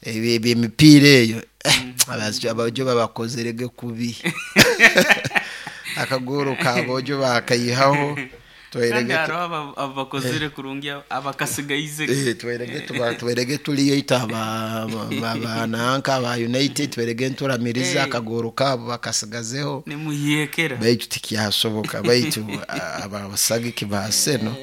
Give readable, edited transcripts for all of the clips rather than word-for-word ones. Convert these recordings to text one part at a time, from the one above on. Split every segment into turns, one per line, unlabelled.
Ebyemipiira eyo, aboojo babakozerege kubi, akagoro k'aboojo baakaihaho.
Kandi haroho abakozere kurungi abakasigaize.
Tubairege tuliyo itwe aba nanka aba United, tubairege nituramiriza akagoro kaabo bakasigazeho.
Nimuhekera.
Baitu tikyasoboka, baitu abasagiki ba Arsenal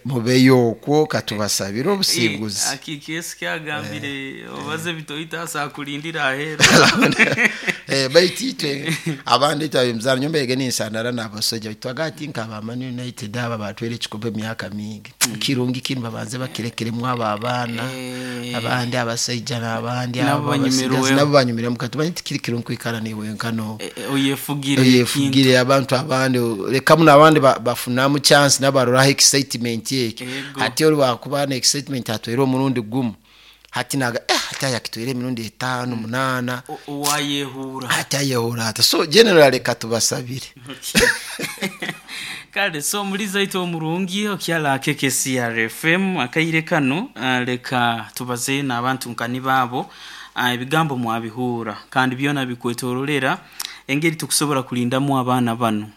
mubeyo okwo, katubasabire obusinguzi.
Akiki agambire obaze bitoita akulindira aheru.
Baitu itwe abandi, itwe ab'emizaano, nyowe mbairege ninsandara n'abasoja twaga ati nk'aba Man United aba batwaire ekikopo emyaka mingi, kirungi kinu babanze bakirekeremu abo abaana abandi, abasaija n'abandi.
Nabo
abo abasigazi
banyumirweho.
Nabo banyumiremu. Katumanyi tikiri kirungi kwikara niwenka no
oyefugire.
Oyefugire abantu abandi, lekamu n'abandi bafunamu chance, nabo baroraho excitement ekyo. Hati oli wakuba na excitement atwaire omurundi gumu, hati naga hati ayakitwaire emirundi etaano, munaana.
Owayehura.
Hati ayehura ata? So generally leka tubasabire.
Kale, so omuliza itwe omurungi okyala KKCR FM akaire kano, leka tubaze n'abantu nkani baabo. Ebigambo mwabihuura kandi byona bikwetorolera engeri tukusobola kulindamu abaana bano,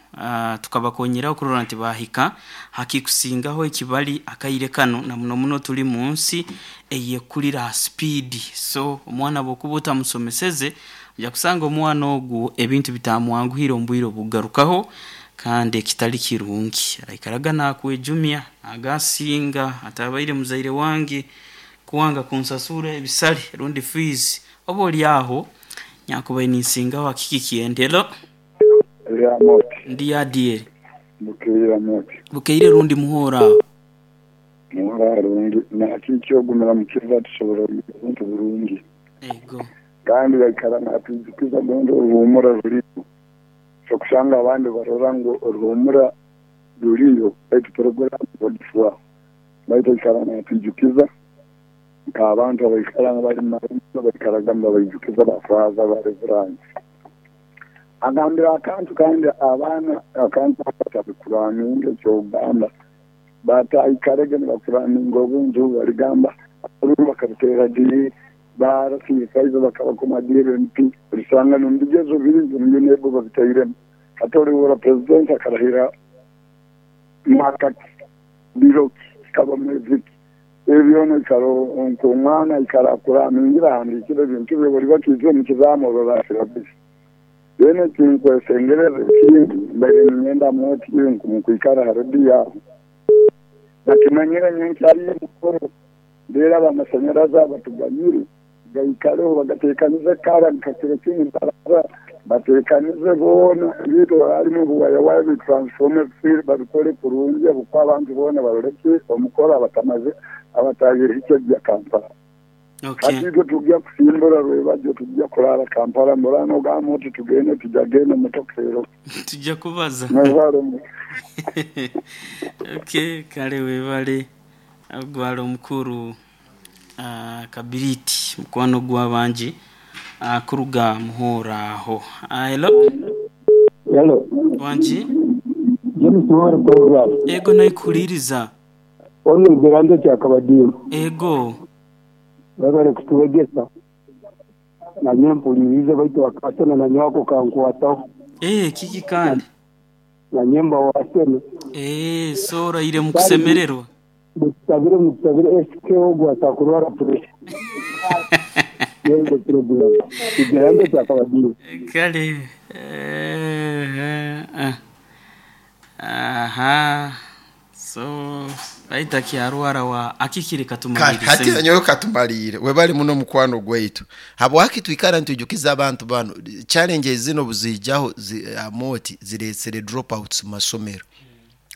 tukabakonyera okurora nti bahika hakikusingaho ekibali akaire kano, na muno muno tuli mu nsi eyekulira ha speed. So omwana bwokuba otamusomeseze, ojja kusanga omwana ogu ebintu bitamwanguhire omu bwire obugarukaho, kandi ekitali kirungi araikaraga nakwejumya agasinga atabaire muzaire wange kuwanga kunsasura ebisale rundi fees, oba oli aho nyakubaire ninsingaho akiki kyendero.
Lyamoti.
Ndi adieri.
Bukeire, Moti.
Bukeire rundi muhoro aho.
Muhora rungi nakiki ogumira mukiza tusobola obuntu burungi.
Ego.
Kandi baikara natwijukiza gondi oruhumura ruriyo, so kusanga abandi barora ngu oruhumura ruriyo, baitu poroguramu bagifwaho, baitu aikara natwijukiza nk'abantu abaikara bali mumarumu, baikaraga nibabaijukiza bafaaza bareverandi agambira akantu, kandi abaana akantu batabikuraninga ekyogamba bataikarege nibakuraninga obuntu, baligamba abalulu bakabitera diri barasiifaize bakabakoma diri MP olisanga nomubigezo bingi UNEB babitairemu. Hati olihura president akarahira mwaka ki, biro ki, kikaba mwezi ki, ebyona ikara nk'omwana aikara akuramingira ahandikire ebintu bye buli bakiija omu kizamu orora syllabus. Then ekinkwesengereza ekindi, mbaire ninyenda Moti mukwikara ha rediyo aho bakimanyire nyenkyaliyo mukoro nderaba amasanyarazi abatuganyire gaikareho, bagatekanize kara nka kiro kimu baraza batekanize boona ebintu harimu obuwayawaya bitransforme babikole kurungi obukuba abantu boona baroleke omukoro abatamaze abatayehikye gya Kampala. Hati itwe tujja kusimbura rwebagyo, tujja kurara Kampala murano ogamba oti tugende, tujagenda emotoka ero.
Tujja kubaza.
Mwebale.
Okay, kale webale ogwala omukuru Kabiriti mukwano gw'abangi kuruga muhoro aho. Hello.
Hello.
Wangi.
James Muhoro program.
Ego, naikuhuliriza.
Ono Gerando kyakabadimu.
Ego.
Webale kutuwegesa. Nanye mpulirize, baitu akasena nanywako kankwataho.
Kiki kandi?
Nanye mba wasene.
So oraire mukusemererwa.
Mutusabire, mutusabire SK ogwo atakurwara pressure. Yego program. Kigerando kyakabadimu.
Kale aha, so baita kyarwara wa akikiri.
Kale,
Katumalirize.
Hati nanyowe katumalire, webali muno mukwano gwaitu. Habwaki twikara nitwijukiza abantu bano challenges zino buzijaho amoti ziresere dropouts mu masomero.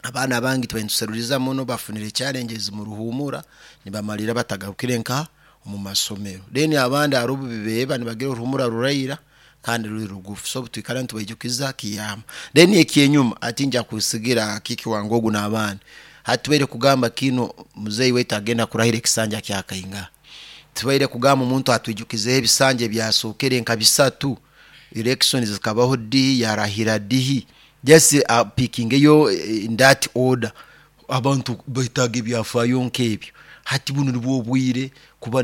Abaana bangi tubaire muno bafunire challenges mu ruhumura, nibamalira batagarukire nka omu masomero. Then abandi hari obu bibeba nibagira oruhumura ruraira kandi ruri rugufu, so twikara nitubaijukiza kiyamba. Then ekyenyuma ati nja kusigira kiki wange ogu n'abandi, hati tubaire kugamba kino, muzeyi waitu agenda kurahira ekisanja kyakainga, tubaire kugamba omuntu atwijukizeho ebisanja ebyasookere nka bisatu, elections zikabaho dihi, yarahira dihi, just picking eyo in that order. Abantu betaaga ebyafaayo nk'ebyo. Hati bunu nibwo obwire kuba.